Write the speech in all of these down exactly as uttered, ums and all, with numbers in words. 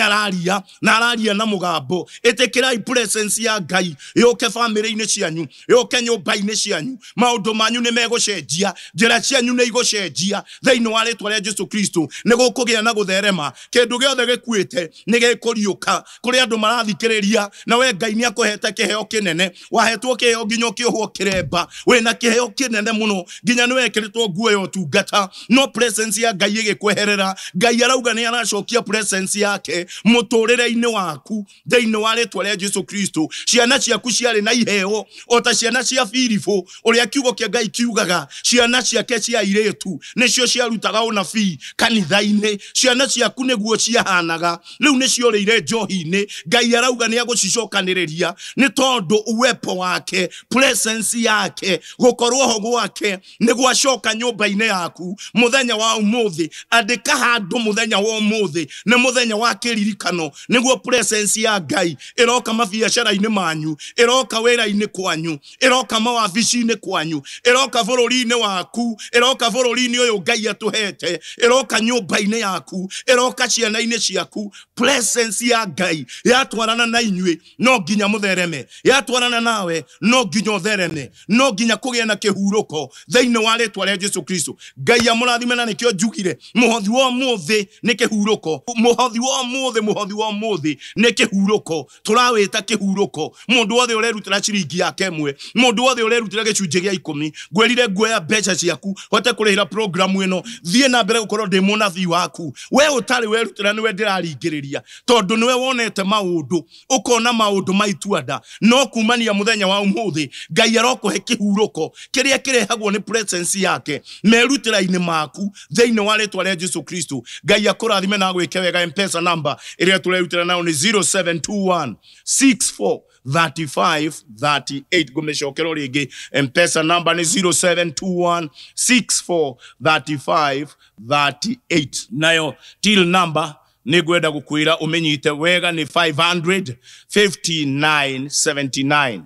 Araria na araria na mugambo. Ĩtĩkĩrai presence ya Ngai yũke famĩlĩ-inĩ cianyu, yũke nyũmba-inĩ cianyu. Maũndũ manyu nĩ megũcenjia, njĩra cianyu nĩ igũcenjia thĩinĩ wa rĩtwa rĩa Jesu Kristo. Nĩ gũkũgĩa na gũtherema, kĩndũ gĩothe gĩkuĩte nĩ gĩkũriũka. Kũrĩ andũ marathikĩrĩria na we Ngai nĩ akũhete kĩheo kĩnene. Wahetwo kĩheo nginya ũkĩohwo kĩremba, wĩna kĩheo kĩnene mũno nginya nĩ wekĩrĩtwo nguo ya ũtungata, no presence ya Ngai ĩgĩkweherera. Ngai arauga nĩ aracokia presence yake mũtũrĩre-inĩ waku thĩinĩ wa rĩtwa rĩa Jesu Kristo. Ciana ciaku ciarĩ na iheo o ta ciana cia Filipo, ũrĩa kiugo kĩa Ngai kiugaga ciana ciake cia airĩtu nĩcio ciarutaga ũnabii kanitha-inĩ. Ciana ciaku nĩguo ciahanaga, rĩu nĩciorĩire njohi-inĩ. Ngai arauga nĩ agũcicokanĩrĩria nĩ tondũ uwepo wake, presence yake, gũkorwo ho gwake nĩ gwacoka nyũmba-inĩ yaku mũthenya wa ũmũthĩ. Andĩka handũ mũthenya wa ũmũthĩ nĩ mũthenya wa kĩririkano, nĩguo presence ya Ngai ĩroka mabiacara-inĩ manyu, ĩroka wĩra-inĩ kwanyu, ĩroka mawabici-inĩ kwanyu, ĩroka bũrũri-inĩ waku, ĩroka bũrũri-inĩ ũyũ Ngai atũhete, ĩroka nyũmba-inĩ yaku, ĩroka ciana-inĩ ciaku. Presence ya Ngai yatwarana na inyuĩ no nginya mũthereme, yatwarana nawe no nginya ũthereme, no nginya kũgĩe na kĩhurũko thĩinĩ wa rĩtwa rĩa Jesu Kristo. Ngai amũrathime, na nĩkĩo njugire mũhothi wa ũmũthĩ nĩ kĩhurũko, mũhothi wa ũmũthĩ, mũhothi wa ũmũthĩ nĩ kĩhurũko. Tũrawĩta kĩhurũko. Mũndũ wothe ũrerutĩra ciringi yake ĩmwe, mũndũ wothe ũrerutĩra gĩcunjĩ gĩa ikũmi, ngwĩrire nguoya mbeca ciaku hote kũrĩhĩra programu ĩno, thiĩ na mbere gũkorwo ndĩ mũnabii waku. We ũtarĩ werutĩra nĩwe ndĩraringĩrĩria, tondũ nĩwe wonete maũndũ, ũkona maũndũ ma itua-nda. No kumania mũthenya wa ũmũthĩ Ngai arokũhe kĩhurũko kĩrĩa kĩrehagwo nĩ presence yake merutĩra-inĩ maku thĩinĩ wa rĩtwa rĩa Jesu Kristo. Ngai akũrathime na agwĩke wega. M-Pesa number ĩrĩa tũrerutĩra nayo nĩ zero seven two one six four thirty five thirty eight. Ngũmĩcokera rĩngĩ, M-Pesa number nĩ zero seven two one six four thirty five thirty eight. Nayo till number nĩ ngwenda gũkwĩra ũmĩnyite wega nĩ five hundred fifty nine seventy nine.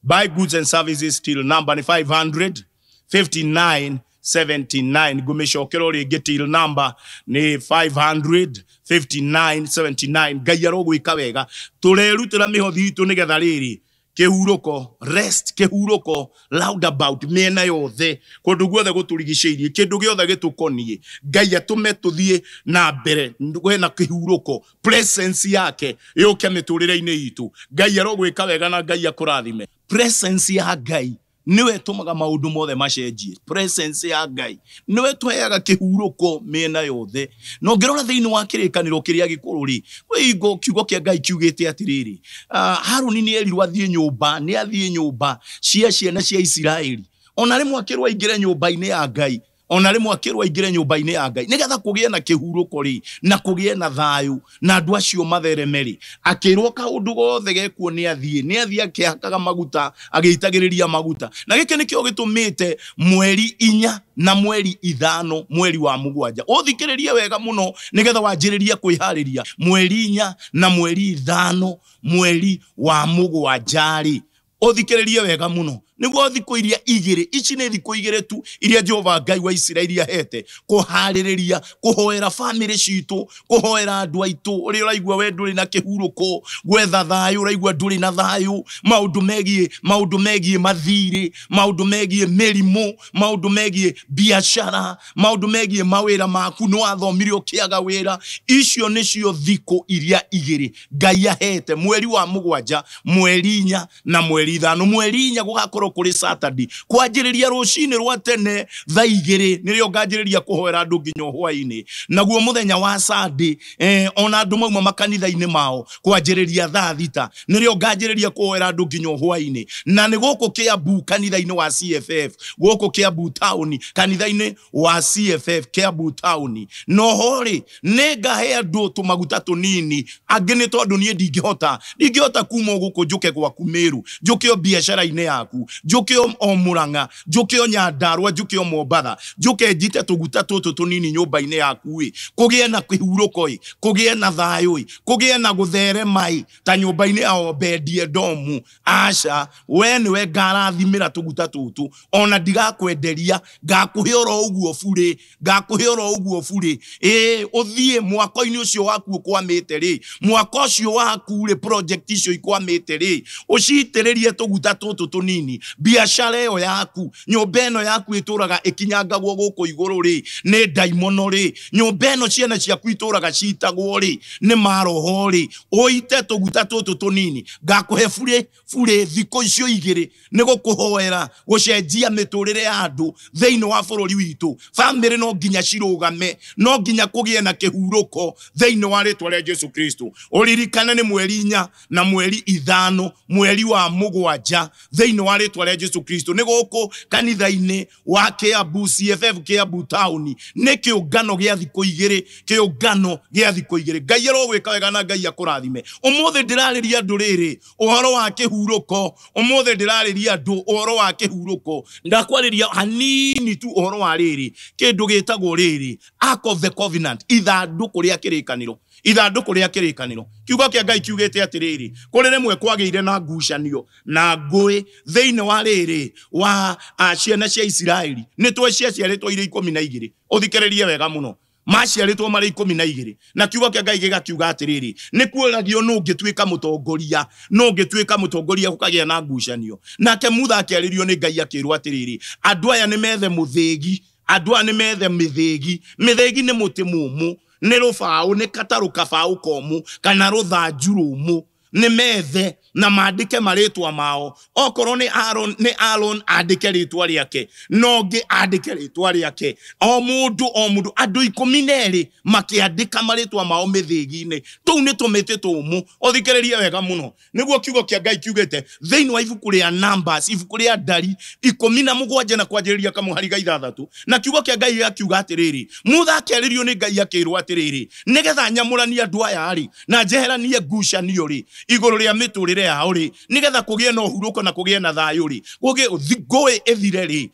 Buy goods and services till number nĩ five hundred fifty nine seventy nine. Ngũmĩcokera rĩngĩ, till number nĩ five hundred fifty nine seventy nine. Ngai arogwĩka wega. Tũrerutĩra mĩhothi itũ nĩgetha rĩrĩ kĩhurũko, rest, kĩhurũko roundabout mĩena yothe, kũndũ guothe gũtũrigicĩirie, kĩndũ gĩothe gĩtũkoniĩ. Ngai atũme tũthiĩ na mbere kwĩna kĩhurũko, presence yake yũke mĩtũrĩre-inĩ itũ. Ngai arogwĩka wega na Ngai akũrathime. Presence ya Ngai niwe tũmaga maũndũ mothe macenjie. Presence ya Ngai niwe tũheaga kĩhurũko mĩena yothe. Na ũngĩrora thĩinĩ wa kĩrĩkanĩro kĩrĩa gĩkũrũ rĩ, kwĩ hingo kiugo kĩa Ngai kiugĩte atĩrĩrĩ, ah, Harũni nĩ erirwo athiĩ nyũmba, nĩ athiĩ nyũmba cia ciana cia Isiraeli. Ona rĩmwe akĩrwo aingĩre nyũmba-inĩ ya Ngai, ona rĩmwe akĩrwo aingĩre nyũmba-inĩ ya Ngai nĩgetha kũgĩe na kĩhurũko rĩ, na kũgĩe na thayũ, na andũ acio mathereme rĩ. Akĩrwo kaũndũ gothe gekuo nĩ athiĩ, nĩ athiĩ akĩhakaga maguta, agĩitagĩrĩria maguta. Na gĩkĩ nĩkĩo gĩtũmĩte mweri inya na mweri ithano mweri wa mũgwanja ũthikĩrĩrie wega mũno nĩgetha wanjĩrĩrie kwĩharĩria. Mweri inya na mweri ithano mweri wa mũgwanja rĩ, ũthikĩrĩrie wega mũno nĩguo thikũ iria igĩrĩ ici nĩ thikũ igĩrĩ tu iria Jehova Ngai wa Isiraeli ahete kũharĩrĩria, kũhoera famĩlĩ citũ, kũhoera andũ aitũ. Ũrĩa ũraigua we ndũrĩ na kĩhurũko, gwetha thayũ, ũraigua ndũrĩ na thayũ, maũndũ megiĩ, maũndũ megiĩ mathirĩ, maũndũ megiĩ mĩrimũ, maũndũ megiĩ biacara, maũndũ megiĩ mawĩra maku, nĩ wathomire ũkĩaga wĩra. Icio nĩcio thikũ iria igĩrĩ Ngai ahete, mweri wa mũgwanja, mweri inya na mweri ithano. Mweri inya gũgakorwo kũrĩ Saturday, kwanjĩrĩria rũcinĩ rwa tene thaa igĩrĩ nĩrĩo nganjĩrĩria kũhoera andũ nginya hwaĩ-inĩ. Naguo mũthenya wa Sunday, eh, ona andũ mauma makanitha-inĩ mao kwanjĩrĩria thaa thita nĩrĩo nganjĩrĩria kũhoera andũ nginya hwaĩ-inĩ. Na nĩ gũkũ Kiambu kanitha-inĩ wa C F F, gũkũ Kiambu town kanitha-inĩ wa C F F Kiambu town. Noho rĩ, nĩ ngahe andũ tũmaguta tũnini, angĩ nĩ tondũ niĩ ndingĩhota, ndingĩhota kuma gũkũ njũke gwaku Meru, njũke o biacara-inĩ yaku, Njuke o Murang'a, njuke o Nyandarua, njuke o Mombatha, njuke njite tuguta tutu tunini nyumba-inĩ yaku ĩ, kũgĩe na kĩhurũko ĩ, kũgĩe na thayũ ĩ, kũgĩe na gũtherema ĩ, ta nyũmba-inĩ ya Obedi-Edomu. Aca, we nĩwe ngarathimĩra tũguta tũtũ, ona ndigakwenderia, ngakũhe oro ũguo burĩ, ngakũhe oro ũguo burĩ. Ĩ, ũthiĩ mwako-inĩ ũcio waku ũkwamĩte rĩ, mwako ũcio waku rĩ, project icio ikwamĩte rĩ, ũcitĩrĩrie tũguta tũtũ tũnini, biacara ĩyo yaku, nyũmba ĩno yaku ĩtũraga ĩkinyangagwo gũkũ igũrũ rĩ, nĩ ndaimono rĩ, nyũmba ĩno ciana ciaku itũraga citagwo rĩ, nĩ maroho rĩ, ũite tũguta tũtũ tũnini, ngakũhe burĩ burĩ thikũ icio igĩrĩ nĩ gũkũhoera gũcenjia mĩtũrĩre ya andũ thĩinĩ wa bũrũri witũ. Bamĩrĩ no nginya cirũgame, no nginya kũgĩe na kĩhurũko thĩinĩ wa rĩtwa rĩa Jesu Kristo. Ũririkane nĩ mweri inya na mweri ithano, mweri wa mũgwanja thĩinĩ wa rĩtwa rĩa Jesu Kristo. Nĩ gũkũ kanitha-inĩ wa Kiambu C F F Kiambu Town, nĩ kĩũngano gĩa thikũ igĩrĩ, kĩũngano gĩa thikũ igĩrĩ. Ngai arogwĩka wega na Ngai akũrathime. Ũmũthĩ ndĩrarĩria andũ rĩrĩ ũhoro wa kĩhurũko, ũmũthĩ ndĩrarĩria andũ ũhoro wa kĩhurũko. Ndakwarĩria hanini tu ũhoro wa rĩrĩ kĩndũ gĩtagwo rĩrĩ Ark of the Covenant, ithandũkũ rĩa kĩrĩkanĩro, ithandũkũ rĩa kĩrĩkanĩro. Kiugo kĩa Ngai kiugĩte atĩrĩrĩ, kũrĩ rĩmwe kwagĩire na ngucanio na ngũĩ thĩinĩ wa rĩrĩ wa ciana cia Isiraeli. Nĩ tũĩ ciaciarĩtwo irĩ ikũmi na igĩrĩ, ũthikĩrĩrie wega mũno, maciarĩtwo marĩ ikũmi na igĩrĩ, na kiugo kĩa Ngai gĩgakiuga atĩrĩrĩ, nĩ kuoragio nũ ũngĩtuĩka mũtongoria, nũ ũngĩtuĩka mũtongoria gũkagĩa na ngucanio. Nake Mutha akĩarĩrio nĩ Ngai akĩrwo atĩrĩrĩ, andũ aya nĩ methe mũthĩgi, andũ aya nĩ methe mĩthĩgi. Mĩthĩgi nĩ mũtĩ mũmũ, nĩ rũbaũ, nĩ katarũ kabaũ komũ kana rũthanju rũmũ, nĩ methe na mandĩke marĩtwa mao. Okorwo nĩ Aaron, nĩ Aaron andĩke rĩtwa rĩake, na ũngĩ andĩke rĩtwa rĩake, o mũndũ o mũndũ, andũ ikũmi na erĩ makĩandĩka marĩtwa mao mĩthĩgi-inĩ. Tũu nĩ tũmĩtĩ tũmũ, ũthikĩrĩrie wega mũno. Nĩguo kiugo kĩa Ngai kiugĩte thĩinĩ wa ibuku rĩa Numbers, ibuku rĩa Ndari ikũmi na mũgwanja na kwanjĩrĩria kamũhari ga ithathatũ, na kiugo kĩa Ngai gĩgakiuga atĩrĩrĩ, Mutha akĩarĩrio nĩ Ngai akĩrwo atĩrĩrĩ, nĩgetha nyamũranie andũ aya rĩ, na njeheranie ngucanio rĩ igũrũ rĩa mĩtũrĩre yao rĩ, nĩgetha kũgĩe na ũhurũko na kũgĩe na thayũ rĩ, kũgĩe ngũĩ ĩthire rĩ,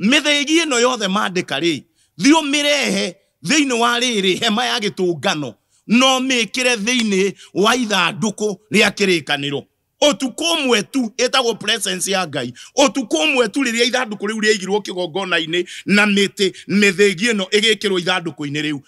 mĩthĩgi ĩno yothe mandĩka rĩ, thiĩ ũmĩrehe thĩinĩ wa rĩrĩ hema ya gĩtũngano, no mĩkĩre thĩinĩ wa ithandũkũ rĩa kĩrĩkanĩro. Ũtukũ ũmwe tu, ĩtagwo presence ya Ngai, ũtukũ ũmwe tu rĩrĩa ithandũkũ rĩu rĩaigirwo kĩgongona-inĩ na mĩtĩ mĩthĩgi ĩno ĩgĩkĩrwo ithandũkũ-inĩ rĩu,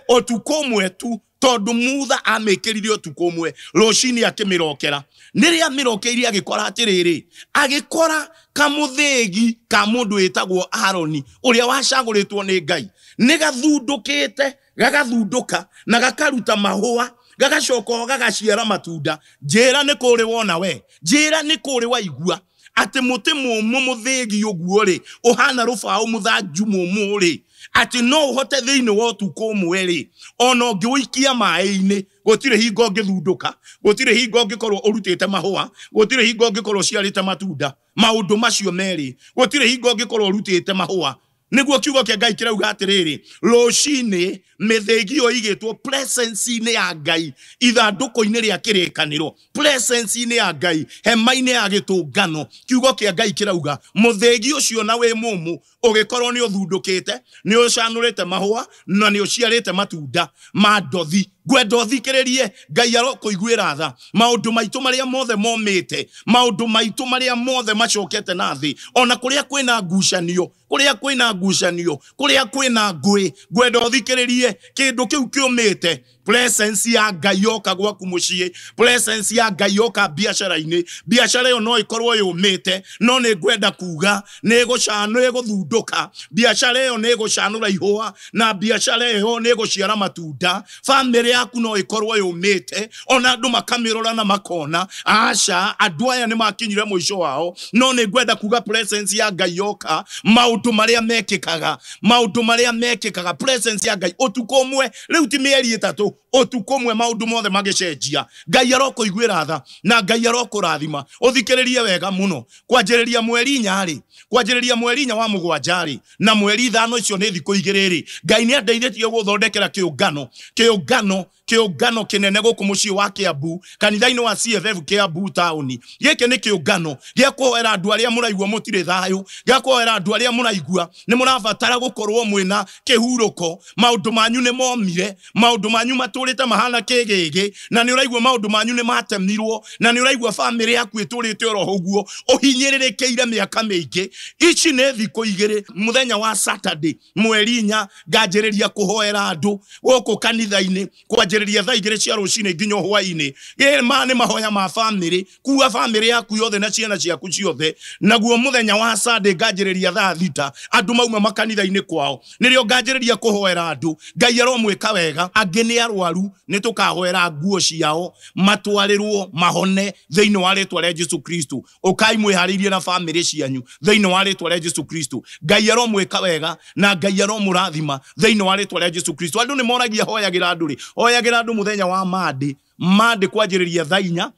ũtukũ ũmwe tu, tondũ Mutha amĩkĩrire ũtukũ ũmwe, rũcinĩ akĩmĩrokera. Nĩrĩa amĩrokeire agĩkora atĩrĩrĩ, agĩkora kamũthĩgi ka mũndũ wĩtagwo Aroni ũrĩa wacagũrĩtwo nĩ Ngai, nĩ gathundũkĩte, gagathundũka na gakaruta mahũa, gagacoka gagaciara matunda. Njĩra nĩ kũrĩ wona we, njĩra nĩ kũrĩ waigua atĩ mũtĩ mũmũ mũthĩgi ũguo rĩ, ũhana rũbaũ mũthanju mũmũ rĩ, atĩ no ũhote thĩinĩ wa ũtukũ ũmwe rĩ, ona ũngĩũikia maĩ-inĩ, gũtirĩ hingo ũngĩthundũka, gũtirĩ hingo ũngĩkorwo ũrutĩte mahũa, gũtirĩ hingo ũngĩkorwo ũciarĩte matunda. Maũndũ macio merĩ, gũtirĩ hingo ũngĩkorwo ũrutĩte mahũa. Nĩguo kiugo kĩa Ngai kĩrauga atĩrĩrĩ, rũcinĩ mĩthĩgi ĩyo ĩigĩtwo presence-inĩ ya Ngai, ithandũkũ-inĩ rĩa kĩrĩkanĩro, presence-inĩ ya Ngai, hema-inĩ ya gĩtũngano. Kiugo kĩa Ngai kĩrauga mũthĩgi ũcio na wĩ mũmũ ũgĩkorwo nĩ ũthundũkĩte, nĩ ũcanũrĩte mahũa na nĩ ũciarĩte matunda ma ndothi. Ngwenda ũthikĩrĩrie, Ngai arokũiguĩra tha. Maũndũ maitũ marĩa mothe momĩte, maũndũ maitũ marĩa mothe macokete na thĩ, ona kũrĩa kwĩna ngucanio, kũrĩa kwĩna ngucanio, kũrĩa kwĩna ngũĩ, ngwenda ũthikĩrĩrie kĩndũ kĩu kĩũmĩte. Presence ya Ngai yoka gwaku mũciĩ, presence ya Ngai yoka biacara-inĩ. Biacara ĩyo no ĩkorwo yũmĩte, no nĩ ngwenda kuga nĩ ĩgũcanũ, ĩgũthundũka. Biacara ĩyo nĩ ĩgũcanũra ihũa, na biacara ĩyo nĩ ĩgũciara matunda. Bamĩrĩ yaku no ĩkorwo yũmĩte, ona andũ makamĩrora na makona aca, andũ aya nĩ makinyire mũico wao. No nĩ ngwenda kuga presence ya Ngai yoka, maũndũ marĩa mekĩkaga, maũndũ marĩa mekĩkaga, presence ya Ngai ũtukũ ũmwe, rĩu ti mĩeri ĩtatũ, ũtukũ ũmwe maũndũ mothe magĩcenjia. Ngai arokũiguĩra tha na Ngai arokũrathima. Ũthikĩrĩrie wega mũno, kwanjĩrĩria mweri inya rĩ, kwanjĩrĩria mweri inya wa mũgwanja rĩ, na mweri ithano, icio nĩ thikũ igĩrĩ rĩ, Ngai nĩ andeithĩtie gũthondekera kĩũngano, kĩũngano Kĩũngano kĩnene gũkũ mũciĩ wa Kiambu, kanitha-inĩ wa C F F Kiambu taũni. Gĩkĩ nĩ kĩũngano gĩa kũhoera andũ arĩa mũraigua mũtirĩ thayũ, gĩa kũhoera andũ arĩa mũraigua nĩ mũrabatara gũkorwo mwĩna kĩhurũko. Maũndũ manyu nĩ momire, maũndũ manyu matũrĩte mahana kĩgĩgĩ, na nĩ ũraigua maũndũ manyu nĩ matemirwo, na nĩ ũraigua bamĩrĩ yaku ĩtũrĩte oro ũguo ũhinyĩrĩrĩkĩire mĩaka mĩingĩ. Ici nĩ thikũ igĩrĩ, mũthenya wa Saturday mweri inya nganjĩrĩria kũhoera andũ gũkũ kanitha-inĩ kwanjĩrĩria thaa igĩrĩ cia rũcinĩ nginya hwaĩ-inĩ. Ĩ ma nĩ mahoya ma bamĩrĩ, kuua bamĩrĩ yaku yothe na ciana ciaku ciothe. Naguo mũthenya wa Sunday nganjĩrĩria thaa thita andũ mauma makanitha-inĩ kwao, nĩrĩo nganjĩrĩria kũhoera andũ. Ngai aromwĩka wega. Angĩ nĩ arwaru, nĩ tũkahoera nguo ciao matwarĩrwo mahone thĩinĩ wa rĩtwa rĩa Jesu Kristo. Ũkai mwĩharĩirie na bamĩrĩ cianyu thĩinĩ wa rĩtwa rĩa Jesu Kristo. Ngai aromwĩka wega na Ngai aromũrathima thĩinĩ wa rĩtwa rĩa Jesu Kristo. Andũ nĩ moragia hoyagĩra andũ rĩ, hoyagĩra andũ mũthenya wa Monday, Monday kwanjĩrĩria thaa inya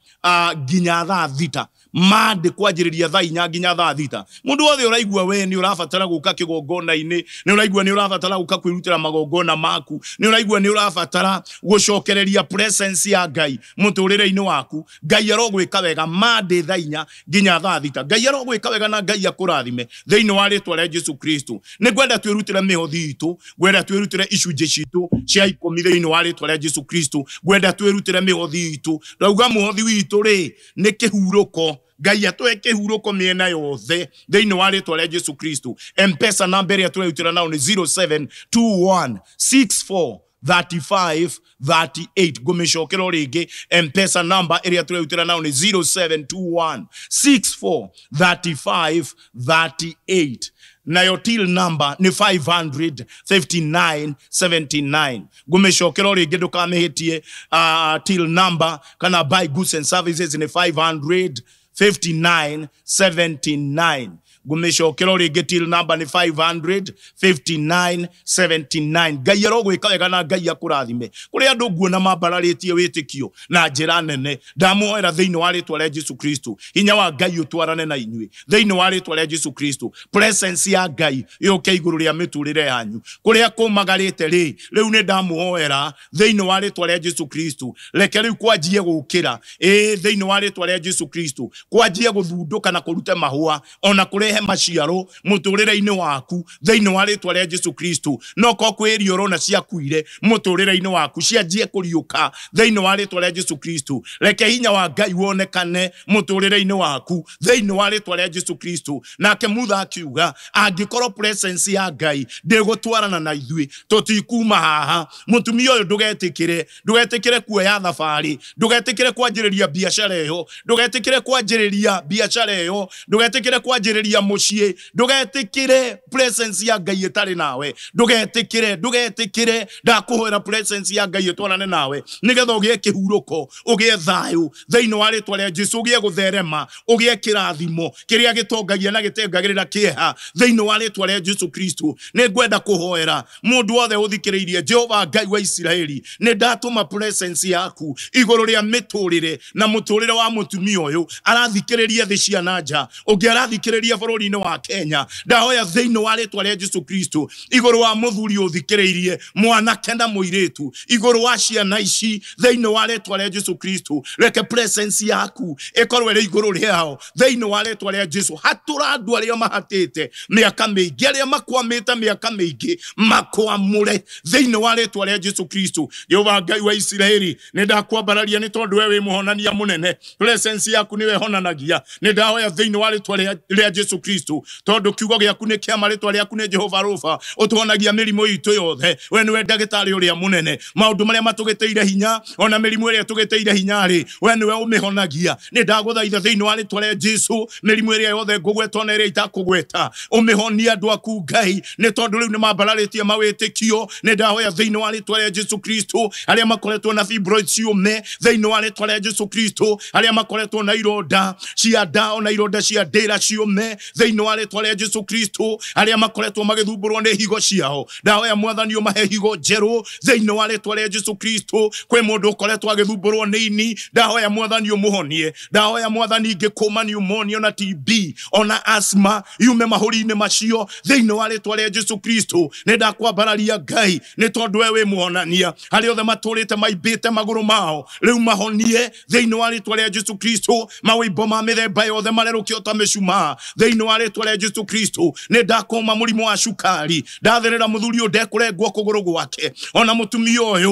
nginya thaa thita. Monday kwanjĩrĩria thaa inya nginya thaa thita. Mũndũ wothe ũraigua we nĩ ũrabatara gũka kĩgongona-inĩ, nĩ ũraigua nĩ ũrabatara gũka kwĩrutĩra magongona maku, nĩ ũraigua nĩ ũrabatara gũcokereria presence ya Ngai mũtũrĩre-inĩ waku, Ngai arogwĩka wega. Monday thaa inya nginya thaa thita. Ngai arogwĩka wega na Ngai akũrathime thĩinĩ wa rĩtwa rĩa Jesu Kristo. Nĩ ngwenda twĩrutĩre mĩhothi itũ, ngwenda twĩrutĩre icunjĩ citũ cia ikũmi thĩinĩ wa rĩtwa rĩa Jesu Kristo. Ngwenda twĩrutĩre mĩhothi itũ. Ndauga mũhothi witũ rĩ nĩ kĩhurũko. Ngai atũhe kĩhurũko mĩena yothe thĩinĩ wa rĩtwa rĩa Jesu Kristo. M-Pesa namba ĩrĩa tũrerutĩra nao nĩ zero seven two one six four thirty five thirty eight. Ngũmĩcokera o rĩngĩ, M-Pesa namba ĩrĩa tũrerutĩra nao nĩ zero seven two one six four thirty five thirty eight. Nayo till number ni five hundred fifty nine seventy nine. Ngũmĩcokera o rĩngĩ ndũkamĩhĩtie. Uh, till number kana buy goods and services ni five hundred fifty nine seventy nine. Ngũmĩcokera o rĩngĩ till number ni five hundred fifty nine seventy nine. Ngai arogwĩka wega na Ngai akũrathime. Kũrĩ andũ nguona mambararĩtie wĩtĩkio na njĩra nene, ndamũhoera thĩinĩ wa rĩtwa rĩa Jesu Kristo. Hinya wa Ngai ũtwarane na inyuĩ thĩinĩ wa rĩtwa rĩa Jesu Kristo. Presence ya Ngai yũke igũrũ rĩa mĩtũrĩre yanyu. Kũrĩa kũmagarĩte rĩ, rĩu nĩ ndamũhoera thĩinĩ wa rĩtwa rĩa Jesu Kristo. Reke rĩu kwanjie gũkĩra, ĩ thĩinĩ wa rĩtwa rĩa Jesu Kristo, kwanjie gũthundũka na kũruta mahũa ona kũrehe maciaro mũtũrĩre-inĩ waku thĩinĩ wa rĩtwa rĩa Jesu Kristo. No ko kwĩ irio ũrona ciakuire mũtũrĩre-inĩ waku cianjie kũriũka thĩinĩ wa rĩtwa rĩa Jesu Kristo. Reke hinya wa Ngai wonekane mũtũrĩre-inĩ waku thĩinĩ wa rĩtwa rĩa Jesu Kristo. Nake Mutha akiuga angĩkorwo presence ya Ngai ndĩgũtwarana na ithuĩ tũtikuma haha. Mũtumia ũyũ ndũgetĩkĩre, ndũgetĩkĩre kuoya thabarĩ, ndũgetĩkĩre kwanjĩrĩria biacara ĩyo, ndũgetĩkĩre kwanjĩrĩria biacara ĩyo, ndũgetĩkĩre kwanjĩrĩria mũciĩ, ndũgetĩkĩre presence ya Ngai ĩtarĩ nawe, ndũgetĩkĩre, ndũgetĩkĩre. Ndakũhoera presence ya Ngai ĩtwarane nawe nĩgetha ũgĩe kĩhurũko, ũgĩe thayũ thĩinĩ wa rĩtwa rĩa Jesu, ũgĩe gũtherema, ũgĩe kĩrathimo kĩrĩa gĩtongagia na gĩtengagĩrĩra kĩeha thĩinĩ wa rĩtwa rĩa Jesu Kristo. Nĩ ngwenda kũhoera mũndũ wothe ũthikĩrĩirie. Jehova Ngai wa Isiraeli, nĩ ndatũma presence yaku igũrũ rĩa mĩtũrĩre na mũtũrĩre wa mũtumia ũyũ arathikĩrĩria thĩ cia na nja, ũngĩ arathikĩrĩria bũrũri-inĩ wa Kenya. Ndahoya thĩinĩ wa rĩtwa rĩa Jesu Kristo igũrũ wa mũthuri ũthikĩrĩirie, mwanake na mũirĩtu, igũrũ wa ciana ici thĩinĩ wa rĩtwa rĩa Jesu Kristo. Reke presence yaku ĩkorwo ĩrĩ igũrũ rĩao thĩinĩ wa rĩtwa rĩa Jesu. Hatũra andũ arĩa mahatĩte mĩaka mĩingĩ, arĩa makwamĩte mĩaka mĩingĩ, makwamũre thĩinĩ wa rĩtwa rĩa Jesu Kristo. Jehova Ngai wa Isiraeli, nĩ ndakwambararia nĩ tondũ we wĩ mũhonania mũnene. Presence yaku nĩwe ĩhonanagia. Nĩ ndahoya thĩinĩ wa rĩtwa rĩa Jesu Kristo, tondũ kiugo gĩaku nĩ kĩa ma, rĩtwa rĩaku nĩ Jehova Rofa, ũtũhonagia mĩrimũ itũ yothe. We nĩwe ndagĩtarĩ ũrĩa mũnene. Maũndũ marĩa matũgĩtĩire hinya, ona mĩrimũ ĩrĩa tũgĩtĩire hinya rĩ, we nĩwe ũmĩhonagia. Nĩ ndagũthaitha thĩinĩ wa rĩtwa rĩa Jesu, mĩrimũ ĩrĩa yothe ngũgweta ona ĩrĩa itakũgweta, ũmĩhonie andũ aku Ngai, nĩ tondũ rĩu nĩ mambararĩtie mawĩtĩkio. Nĩ ndahoya thĩinĩ wa rĩtwa rĩa Jesu Kristo, arĩa makoretwo na fibroids ciũme thĩinĩ wa rĩtwa rĩa Jesu Kristo, arĩa makoretwo na ironda cia nda ona ironda cia ndĩra ciũme Thĩinĩ wa rĩtwa rĩa Jesu Kristo, arĩa makoretwo magĩthumbũrwo nĩ higo ciao, ndahoya Mwathani ũmahe higo njerũ thĩinĩ wa rĩtwa rĩa Jesu Kristo. Kwĩ mũndũ ũkoretwo agĩthumbũrwo nĩ ini, ndahoya Mwathani ũmũhonie. Ndahoya Mwathani ingĩkũma pneumonia ona T B ona asthma yume mahũri-inĩ macio thĩinĩ wa rĩtwa rĩa Jesu Kristo. Nĩ ndakwambararia Ngai nĩ tondũ we wĩ mũhonania. Arĩa othe matũrĩte maimbĩte magũrũ mao rĩu mahonie thĩinĩ wa rĩtwa rĩa Jesu Kristo. Mawĩimbo ma mĩthemba yothe marerũkio ta mĩcumaa thĩinĩ wa rĩtwa rĩa Jesu Kristo. Nĩ ndakũma mũrimũ wa cukari, ndatherera mũthuri ũyũ ndekũrengwo kũgũrũ gwake ona mũtumia ũyũ.